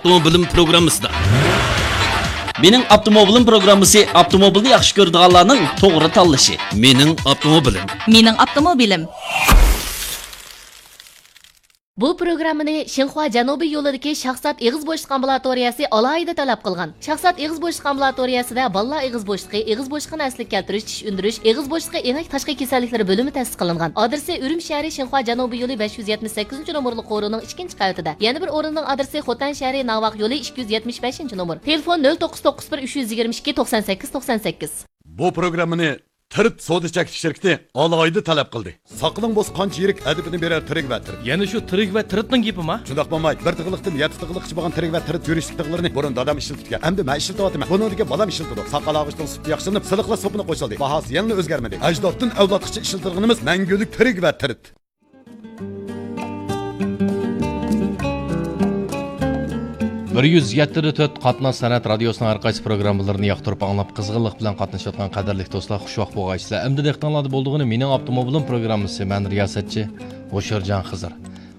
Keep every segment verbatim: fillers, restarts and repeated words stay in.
ئاپتوموبىلىم پروگراممىسىدا. مېنىڭ ئاپتوموبىلىم پروگراممىسى ئاپتوموبىلنى ياخشى كۆرىدىغانلارنىڭ توغرا تاللىشى. مېنىڭ ئاپتوموبىلىم. مېنىڭ ئاپتوموبىلىم. بۇ پروگراممىنى شىنخۇا جەنۇبىي يولىدىكى شاھزات ئېغىز بوشلۇق ئامبۇلاتورىيەسى ئالاھىدە تەلەپ قىلغان. شاھزات ئېغىز بوشلۇق ئامبۇلاتورىيەسىدە بالىلار ئېغىز بوشلۇقى، ئېغىز بوشلۇقىنى ئەسلىگە كەلتۈرۈش، چىش ئۈندۈرۈش، ئېغىز بوشلۇقى ئېڭەك تاشقى كېسەللىكلىرى بۆلۈمى تەسىس قىلىنغان. ئادرېسى ئۈرۈمچى شەھىرى شىنخۇا جەنۇبىي يولى بەش يۈز يەتمىش سەككىزىنچى نومۇرلۇق قورۇنىڭ ئىككىنچى قەۋىتىدە. يەنە بىر ئورۇننىڭ ئادرېسى خوتەن شەھىرى ناۋاق يولى ئىككى يۈز يەتمىش بەشىنچى نومۇر. تېلېفون: نۆل توققۇز توققۇز بىر، ئۈچ يۈز يىگىرمە ئىككى، توقسان سەككىز، توقسان سەككىز. بۇ پروگراممىنى تىرت سودا چەكلىك شىركىتى ئالاھىدە تەلەپ قىلدى. ساقىلىڭ بولسا قانچە يىرىك ئەدىپىنى بېرەر تىرىك ۋە تىرىت. يەنە شۇ تىرىك ۋە تىرىتنىڭ گېپىما؟ شۇنداق بولماي، بىر تىغلىقتىن يەتتە تىغلىققىچە بولغان تىرىك ۋە تىرىت يۈرۈشلۈك تىغلىرىنى بۇرۇن دادام ئىشلىتىدىكەن. ئەمدى مەن ئىشلىتىۋاتىمەن. بۇنىڭدىكى بالام ئىشلىتىدۇ. ساقال ئاغۇشنىڭ سۈپىتى ياخشىلىنىپ، سىلىقلاش سوپۇنى قوشۇلدى. باھاسى يەنىلا ئۆزگەرمىدى. ئەجدادتىن ئەۋلادقىچە ئىشلىتىدىغىنىمىز مەڭگۈلۈك تىرىك ۋە تىرىت. بىر يۈز يەتتە تۆت قاتناش سەنئەت رادىيوسىنىڭ ھەر قايسى پروگراممىلىرىنى ياقتۇرۇپ ئاڭلاپ، قىزغىنلىق بىلەن قاتنىشىۋاتقان قەدىرلىك دوستلار، خۇشۋاق بولغايسىلەر. ئەمدى دىققىتىڭلاردا بولىدىغىنى مېنىڭ ئاپتوموبىلىم پروگراممىسى. مەن رىياسەتچى ھوشيارجان خىزىر.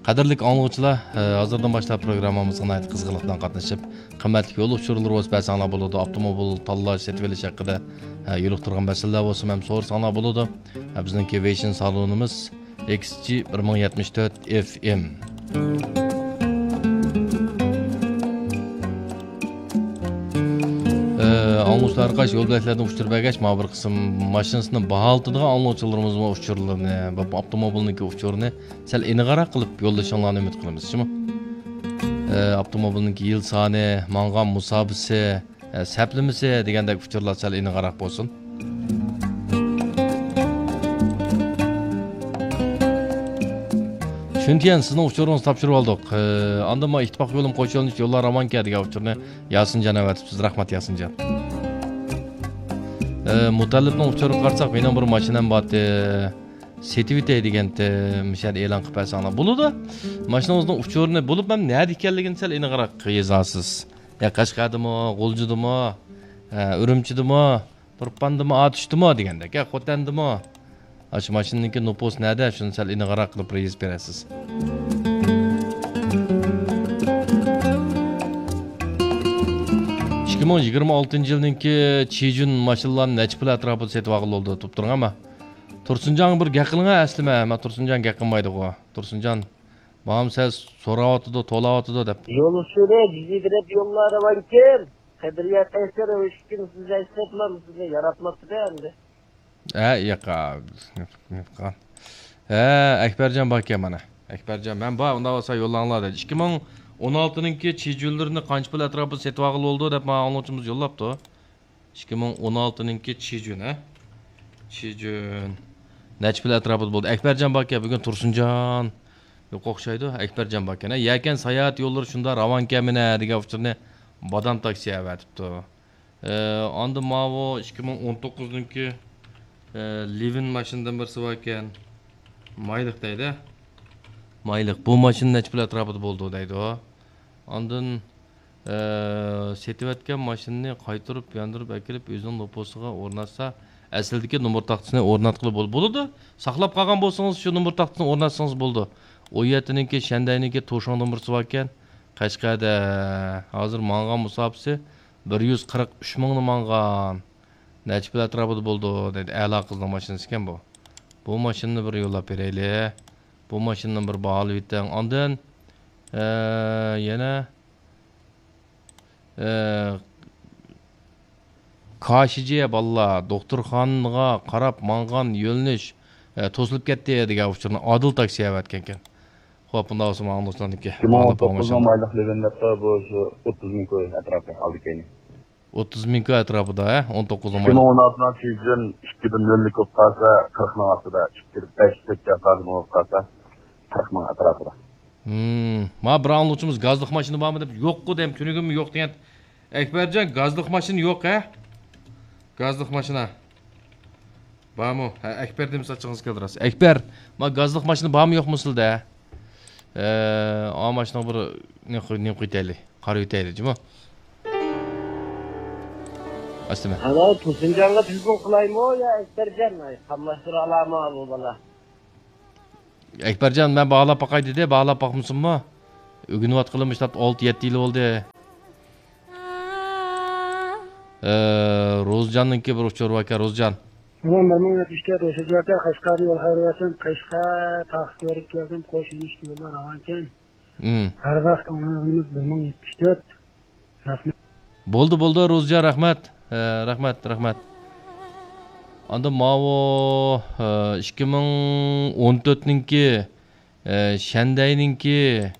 قەدىرلىك ئاڭلىغۇچىلار، ھازىردىن باشلاپ پروگراممىمىزغا ناھايىتى قىزغىنلىق بىلەن قاتنىشىپ، قىممەتلىك يول ئۇچۇرلىرى بولسا بەرسەڭلار بولىدۇ. ئاپتوموبىل تاللاش، سېتىۋېلىش ھەققىدە يولۇقتۇرغان مەسىلىلەر بولسا ھەم سورىساڭلار بولىدۇ. بىزنىڭكى ۋېيشىن سالونىمىز، ئېكس جى بىر مىڭ يەتمىش تۆت ئېف ئېم. ئاڭلىغۇچىلار ھەرقايسى يول بۆلەكلەردىن ئۇچۇر بەرگەچ، مانا بىر قىسىم ماشىنىسىنى باھالىتىدىغان ئاڭلىغۇچىلىرىمىزمۇ ئۇچۇرلىرىنى، بۇ ئاپتوموبىلنىڭكى ئۇچۇرىنى سەل ئېنىقراق قىلىپ يوللىشىڭلارنى ئۈمىد قىلىمىز، شۇمۇ؟ ئاپتوموبىلنىڭكى يىل سانى، ماڭغان مۇساپىسى، ئە، سەپلىمىسى دېگەندەك ئۇچۇرلار سەل ئېنىقراق بولسۇن. شۈنتيەن، سىزنىڭ ئۇچۇرىڭىزنى تاپشۇرۇۋالدۇق. ئە، ئاندىن مانا ئىتتىپاق يولىمۇ قوشۇۋېلىنىش، يوللار راۋانكەن دېگەن ئۇچۇرنى ياسىنجان ئەۋەتىپسىز. رەھمەت، ياسىنجان. ئە، مۇتەللىپنىڭ ئۇچۇرىغا قارىساق، مېنىڭ بىر ماشىنام بارتى. سېتىۋېتەي دېگەنتى، مۇشۇ يەردە ئېلان قىلىپ بەرسەڭلار بولىدۇ. ماشىنىڭىزنىڭ ئۇچۇرىنى بولۇپ ھەم نەدە ئىكەنلىكىنى سەل ئېنىقراق يېزارسىز. يا قەشقەردىمۇ، غۇلجىدىمۇ، ئە، ئۈرۈمچىدىمۇ، تۇرپاندىمۇ، ئاتۇشتىمۇ دېگەندەك، يا خوتەندىمۇ. ئاشۇ ماشىنىنىڭكى نوپۇسى نەدە؟ شۇنى سەل ئېنىقراق قىلىپ يېزىپ بېرەرسىز. ئىككى مىڭ يىگىرمە ئالتىنچى يىلنىڭكى چىجۈن ماشىنىلارنى نەچچە پۇل ئەتراپىدا سېتىۋالغىلى بولىدۇ دەپ تۇرغانما؟ تۇرسۇنجانغا بىر گەپ قىلىڭا ئەسلىمە. مانا تۇرسۇنجان گەپ قىلمايدىغۇ. تۇرسۇنجان، ماڭا سەل سوراۋاتىدۇ، تولاۋاتىدۇ دەپ. يول ئۇچۇرى، بىزنى بىرەپ يوللار راۋانكەن. قەدرىيە قەيسەر ئۆشكۈن سىز ئەسلەپلا سىزنى ياراتماپتىدا ئەمدى. ھە، ياقا. ھە، ئەكبەرجان باركەن مانا. ئەكبەرجان، مەن بار، ئۇنداق بولسا يوللاڭلار دەيدۇ. ئىككى مىڭ ئون ئالتىنىڭكى چىجۈنلىرىنى قانچە پۇل ئەتراپىدا سېتىۋالغىلى بولىدۇ دەپ ماڭا ئاڭلىغۇچىمىز يوللاپتۇ. ئىككى مىڭ ئون ئالتىنىڭكى چىجۈن، ھە؟ چىجۈن. نەچچە پۇل ئەتراپىدا بولدى؟ ئەكبەرجان باركەن، بۈگۈن تۇرسۇنجان يوق ئوخشايدۇ. ئەكبەرجان باركەن، ھە؟ يەكەن ساياھەت يوللىرى شۇنداق راۋانكەنمىنە دېگەن ئۇچۇرنى بادام تاكسى ئەۋەتىپتۇ. ئە، ئاندىن ماۋۇ ئىككى مىڭ ئون توققۇزنىڭكى، ئە، لىۋىن ماشىنىدىن بىرسى باركەن. مايلىق دەيدۇ. مايلىق. بۇ ماشىنا نەچچە پۇل ئەتراپىدا بولىدۇ دەيدۇ. ئاندىن، ئە، سېتىۋەتكەن ماشىنىنى قايتۇرۇپ ياندۇرۇپ ئەكىرىپ ئۆزىنىڭ نوپۇسىغا ئورناتسا، ئەسلىدىكى نومۇر تاختىسىنى ئورناتقىلى بول-، بولىدۇ. ساقلاپ قالغان بولسىڭىز، شۇ نومۇر تاختىسىنى ئورناتسىڭىز بولىدۇ. ئون يەتتىنىڭكى، شەندەينىڭكى توشاڭدىن بىرسى باركەن. قەشقەردە ھازىر ماڭغان مۇساپىسى بىر يۈز قىرىق ئۈچ مىڭنى ماڭغان. نەچچە پۇل ئەتراپىدا بولىدۇ دەيدۇ. ئەلا قىزنىڭ ماشىنىسى ئىكەن بۇ. بۇ ماشىنىنى بىر يوللاپ بېرەيلى. بۇ ماشىنىنى بىر باھالىۋېتىڭ. ئاندىن، ئە، يەنە، ئە، كاشىجى بالىلار دوختۇرخانىغا قاراپ ماڭغان يۆنىلىش، ئە، توسۇلۇپ كەتتى دېگەن ئۇچۇرنى ئادىل تاكسى ئەۋەتكەنكەن. خوپ، بۇنداق بولسا ماڭا دوستلارنىڭكى. ئىككى مىڭ ئون توققۇز مايلىق لېۋىن دەپتۇ، بۇ شۇ ئوتتۇز مىڭ كوي ئەتراپى ئالدى كەينى. ئوتتۇز مىڭ كوي ئەتراپىدا، ھە؟ ئون توققۇز ئون. ئىككى مىڭ ئون ئالتىنىڭ چىجۈن ئىككىدىن نۆللۈك بولۇپ قالسا، قىرىق مىڭ ئاستىدا، ئىككى بەشلىك ياكى بولۇپ قالسا، قىرىق مىڭ ئەتراپىدا. ھىم، ما بىر ئاڭلىغۇچىمىز گازلىق ماشىنا بارمۇ دەپ، يوققۇ دەيمەن، تۈنۈگۈنمۇ يوق دېگەن. ئەكبەرجان، گازلىق ماشىنا يوق، ھە؟ گازلىق ماشىنا. بارمۇ؟ ھە، ئەكبەر دېمىسە چىڭىز كەلدى راست. ئەكبەر، ما گازلىق ماشىنا بارمۇ يوقمۇ سىلدە؟ ئە، ئا ماشىنىغا بىر نېمە قوي-، نېمە قويتايلى؟ قارىۋېتەيلى، جۇمۇ. ئاستىمە. ئەنە تۇرسۇنجانغا تېلېفون قىلايمۇ يا ئەكبەرجان؟ ئاي، قاملاشتۇرالامۇ بۇ بالا؟ ئەكبەرجان، مەن باھالاپ باقاي دېدى، باھالاپ باقمىسۇنمۇ؟ ئۆگىنىۋاتقىلى مۇشۇنداق ئالتە، يەتتە يىل بولدى. ئە، روزجاننىڭكى بىر ئۇچۇرى باركەن، روزجان. ئۇنىڭ بىر مىڭ يەتمىش تۆت ئۆسۈجۈكى قەشقەردە يول خەير بەرسۇن، قەشقەر تاغ كۆرۈپ كەلدىم، قوش يۈرۈش يوللار راۋانكەن. ھىم. ھەر ۋاقىت ئاڭلىغىنىمىز بىر مىڭ يەتمىش تۆت. رەھمەت. بولدى، بولدى، روزجان، رەھمەت. ئە، رەھمەت، رەھمەت. ئاندىن ماۋۇ، ئە، ئىككى مىڭ ئون تۆتنىڭكى، ئە، شەندەينىڭكى،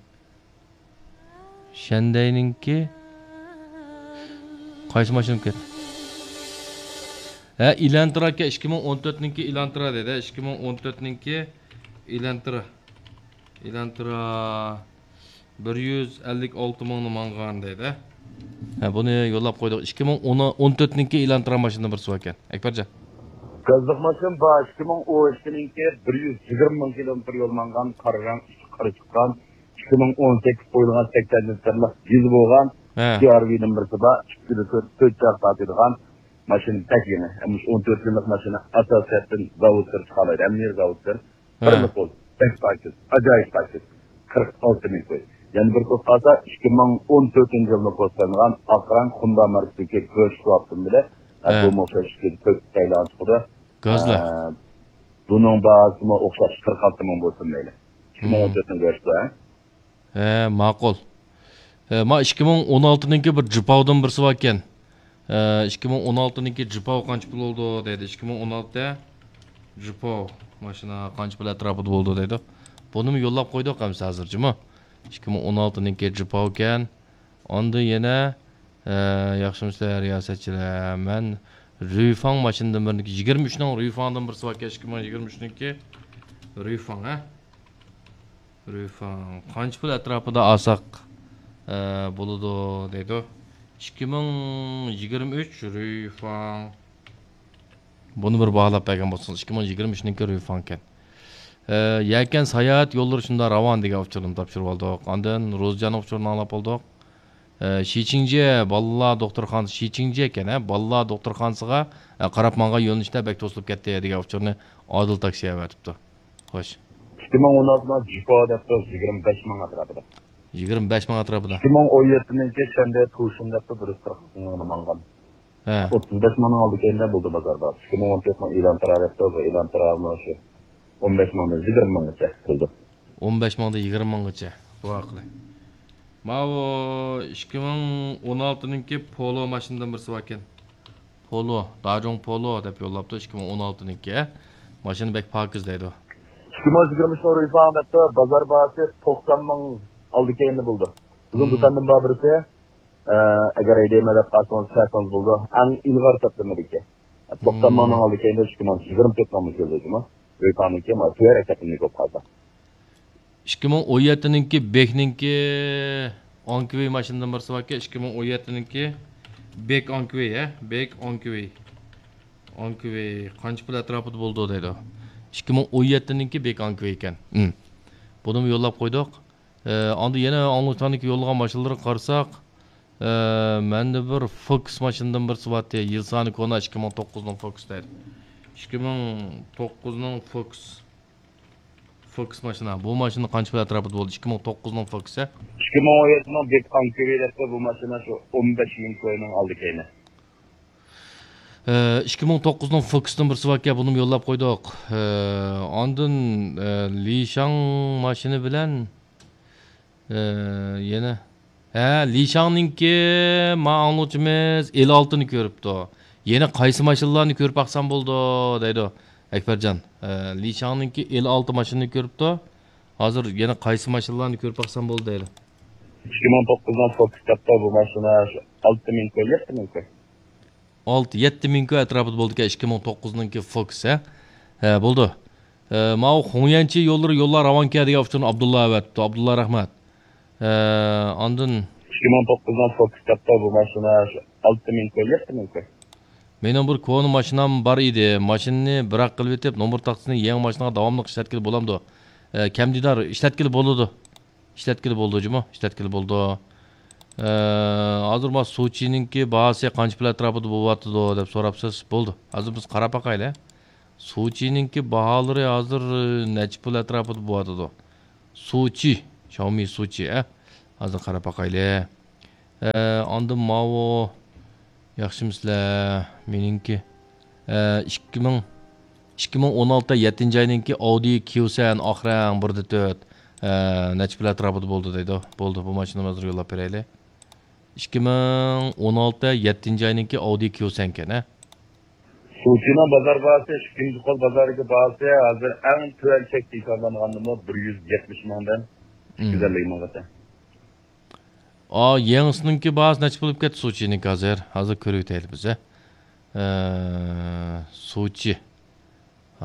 شەندەينىڭكى قايسى ماشىنا ئىكەن؟ ھە، ئېلانترا ئىكەن، ئىككى مىڭ ئون تۆتنىڭكى ئېلانترا دەيدۇ، ئىككى مىڭ ئون تۆتنىڭكى ئېلانترا. ئېلانترا بىر يۈز ئەللىك ئالتە مىڭنى ماڭغان دەيدۇ. ھە، بۇنى يوللاپ قويدۇق. ئىككى مىڭ ئون، ئون تۆتنىڭكى ئېلانترا ماشىنىدىن بىرسى باركەن. ئەكبەرجان. گازلىق ماشىنا بار، ئىككى مىڭ ئون ئىككىنىڭكى بىر يۈز يىگىرمە مىڭ كىلومېتىر يول ماڭغان، قارا رەڭ، ئۈستى قارا چىققان، ئىككى مىڭ ئون سەككىز قويۇلغان سەكسەن لىتىرلىق دىزېل بولغان، ھە. سى ئار ۋى نومۇرى بار، ئىككى تۆت، تۆت چاق تارتىدىغان ماشىنا بەك يېڭى. مۇشۇ ئون تۆت يىللىق ماشىنا ئاساسىي جەھەتتىن زاۋۇتتىن چىقالايدۇ. ھەممە يېرى زاۋۇتتىن. ھە. بىرلا پول، بەك پاكىز، ئاجايىپ پاكىز. قىرىق ئالتە مىڭ كوي. يەنە بىر توپ قالسا، ئىككى مىڭ ئون تۆتىنچى يىلدا پوستلانغان ئاق رەڭ خوندا ماركىسىدىكى كۆرۈش سوئاپتىم بىلەن، ھە. بۇمۇ ئوخشاش ئىككى تۆت سايلان چىقىدۇ. گازلىق. ئە، بۇنىڭ باھاسىمۇ ئوخشاش قىرىق ئالتە مىڭ بولسۇن مەيلى. ئىككى مىڭ ئون تۆتنىڭ گۆشى، ھە؟ ھە، ماقۇل. ھە، ما ئىككى مىڭ ئون ئالتىنىڭكى بىر جىپاۋدىن بىرسى باركەن. ھە، ئىككى مىڭ ئون ئالتىنىڭكى جىپاۋ قانچە پۇل بولىدۇ دەيدۇ. ئىككى مىڭ ئون ئالتە جىپاۋ ماشىنا قانچە پۇل ئەتراپىدا بولىدۇ دەيدۇ. بۇنىمۇ يوللاپ قويدۇق ئەمسە ھازىر جۇمۇ. ئىككى مىڭ ئون ئالتىنىڭكى جىپاۋكەن. ئاندىن يەنە، ئە، ياخشىمۇسىلەر رىياسەتچىلەر؟ مەن رۈيفاڭ ماشىنىدىن بىرنى، يىگىرمە ئۈچنىڭ رۈيفاڭدىن بىرسى باركەن، ئىككى مىڭ يىگىرمە ئۈچنىڭكى رۈيفاڭ، ھە؟ رۈيفاڭ قانچە پۇل ئەتراپىدا ئالساق، ئە، بولىدۇ دەيدۇ. ئىككى مىڭ يىگىرمە ئۈچ رۈيفاڭ. بۇنى بىر باھالاپ بەرگەن بولسىڭىز، ئىككى مىڭ يىگىرمە ئۈچنىڭكى رۈيفاڭكەن. ئە، يەكەن ساياھەت يوللىرى شۇنداق راۋان دېگەن ئۇچۇرنى تاپشۇرۇپ ئالدۇق. ئاندىن روزىجاننىڭ ئۇچۇرىنى ئاڭلاپ ئالدۇق. ئە، شىچىڭجيې بالىلار دوختۇرخانىسى، شىچىڭجيې ئىكەن، ھە، بالىلار دوختۇرخانىسىغا، ئە، قاراپ ماڭغان يۆنىلىشتە بەك توسۇلۇپ كەتتى دېگەن ئۇچۇرنى ئادىل تاكسى ئەۋەتىپتۇ. خوش. ئىككى مىڭ ئون ئالتىنىڭ جىپاۋ دەپتۇ، يىگىرمە بەش مىڭ ئەتراپىدا. يىگىرمە بەش مىڭ ئەتراپىدا. ئىككى مىڭ ئون يەتتىنىڭكى شەندەي تۇشۇن دەپتۇ، بىر يۈز قىرىق مىڭ ماڭغان. ھە. ئوتتۇز بەش مىڭنىڭ ئالدى كەينىدە بولدى بازاردا. ئىككى مىڭ ئون تۆت مىڭ ئېلان تۇرار دەپتۇ، بۇ ئېلان تۇرار مانا شۇ ئون بەش مىڭدىن يىگىرمە مىڭغىچە كىرىدۇ. ئون بەش مىڭدىن يىگىرمە مىڭغىچە. دۇئا قىلىڭ. ماۋۇ ئىككى مىڭ ئون ئالتىنىڭكى پولو ماشىنىدىن بىرسى باركەن. پولو، داجۇڭ پولو دەپ يوللاپتۇ، ئىككى مىڭ ئون ئالتىنىڭكى. ماشىنا بەك پاكىز دەيدۇ. ئىككى مىڭ يىگىرمە ئۈچ رۇيفاڭ دەپتۇ، بازار باھاسى توقسان مىڭ ئالدى كەينىدە بولىدۇ. بىزنىڭ دۇكاندىن بار بىرسى، ئە، ئەگەر ھەيدەيمەن دەپ قالسىڭىز، چاقسىڭىز بولىدۇ. ئەڭ ئىلغار سەپلىمىدىكى. توقسان مىڭنىڭ ئالدى كەينىدە ئىككى مىڭ يىگىرمە تۆت مىڭ كۆرۈنىدۇ. رۇيفاڭنىڭكى، ما، تۆۋەن رەقەمنى كۆپ قالسا. ئىككى مىڭ ئون يەتتىنىڭكى بېكنىڭكى ئانكىۋى ماشىنىدىن بىرسى باركەن، ئىككى مىڭ ئون يەتتىنىڭكى بېك ئانكىۋى، ھە؟ بېك ئانكىۋى. ئانكىۋى قانچە پۇل ئەتراپىدا بولىدۇ دەيدۇ. ئىككى مىڭ ئون يەتتىنىڭكى بېك ئانكىۋى ئىكەن. ھىم. بۇنىمۇ يوللاپ قويدۇق. ئە، ئاندىن يەنە ئاڭلىغۇچىلارنىڭكى يوللىغان ماشىنىلىرىغا قارىساق، ئە، مەندە بىر فوكس ماشىنىدىن بىرسى بارتى. يىل سانى كونا، ئىككى مىڭ توققۇزنىڭ فوكس دەيدۇ. ئىككى مىڭ توققۇزنىڭ فوكس. فوكس ماشىنا. بۇ ماشىنا قانچە پۇل ئەتراپىدا بولدى؟ ئىككى مىڭ توققۇزنىڭ فوكسى. ئىككى مىڭ ئون يەتتىنىڭ بېك ئانكىۋى دەپتۇ، بۇ ماشىنا شۇ ئون بەش يىل كوينىڭ ئالدى كەينى. ئىككى مىڭ توققۇزنىڭ فوكسىدىن بىرسى باركەن، بۇنىمۇ يوللاپ قويدۇق. ئاندىن، لىشاڭ ماشىنا بىلەن، يەنە، ھە، لىشاڭنىڭكى، ما ئاڭلىغۇچىمىز ئېل ئالتىنى كۆرۈپتۇ. يەنە قايسى ماشىنىلارنى كۆرۈپ باقسام بولىدۇ دەيدۇ ئەكبەرجان. لىشاڭنىڭكى ئېل ئالتە ماشىنىنى كۆرۈپتۇ. ھازىر يەنە قايسى ماشىنىلارنى كۆرۈپ باقسام بولىدۇ دەيدۇ. ئىككى مىڭ توققۇزنىڭ فوكس دەپتۇ، بۇ ماشىنا شۇ ئالتە مىڭ كوي، يەتتە مىڭ كوي. ئالتە، يەتتە مىڭ كوي ئەتراپىدا بولىدىكەن، ئىككى مىڭ توققۇزنىڭكى فوكس، ھە؟ ھە، بولدى. ئە، ماۋۇ خۇڭيەنچى يوللىرى يوللار راۋانكەن دېگەن ئۇچۇرنى ئابدۇللا ئەۋەتىپتۇ. ئابدۇللا، رەھمەت. ئە، ئاندىن ئىككى مىڭ توققۇزنىڭ فوكس دەپتۇ، بۇ ماشىنا شۇ ئالتە مىڭ كوي، يەتتە مىڭ كوي. مېنىڭ بىر كونا ماشىنام بار ئىدى. ماشىنىنى بىراق قىلىۋېتىپ، نومۇر تاختىسىنى يېڭى ماشىنىغا داۋاملىق ئىشلەتكىلى بولامدۇ؟ ئە، كەمدىدار ئىشلەتكىلى بولىدۇ. ئىشلەتكىلى بولىدۇ جۇمۇ، ئىشلەتكىلى بولىدۇ. ئە، ھازىر ما سۇچىنىڭكى باھاسى قانچە پۇل ئەتراپىدا بولۇۋاتىدۇ دەپ سوراپسىز، بولدى. ھازىر بىز قاراپ باقايلى. سۇچىنىڭكى باھالىرى ھازىر نەچچە پۇل ئەتراپىدا بولۇۋاتىدۇ؟ سۇچى، شاۋمى سۇچى، ئە. ھازىر قاراپ باقايلى. ئە، ئاندىن ماۋۇ ياخشىمۇ سىلەر؟ مېنىڭكى، ئە، ئىككى مىڭ، ئىككى مىڭ ئون ئالتە يەتتىنچى ئاينىڭكى ئاۋدى كيۇسەن ئاق رەڭ بىر دە تۆت، ئە، نەچچە پۇل ئەتراپىدا بولدى دەيدۇ. بولدى، بۇ ماشىنىنى ھازىر يوللاپ بېرەيلى. ئىككى مىڭ ئون ئالتە يەتتىنچى ئاينىڭكى ئاۋدى كيۇسەنكەن، ھە؟ سۇچىنىڭ بازار باھاسى، ئىككىنچى قول بازاردىكى باھاسى ھازىر ئەڭ تۆۋەن چەكتە ھېسابلانغاندىمۇ بىر يۈز يەتمىش مىڭدىن ئىككى يۈز ئەللىك مىڭغىچە. ئا، يېڭىسىنىڭكى باھاسى نەچچە بولۇپ كەتتى سۇچىنىڭكى ھازىر؟ ھازىر كۆرۈۋېتەيلى بىز، ھە. ئە، سۇچى.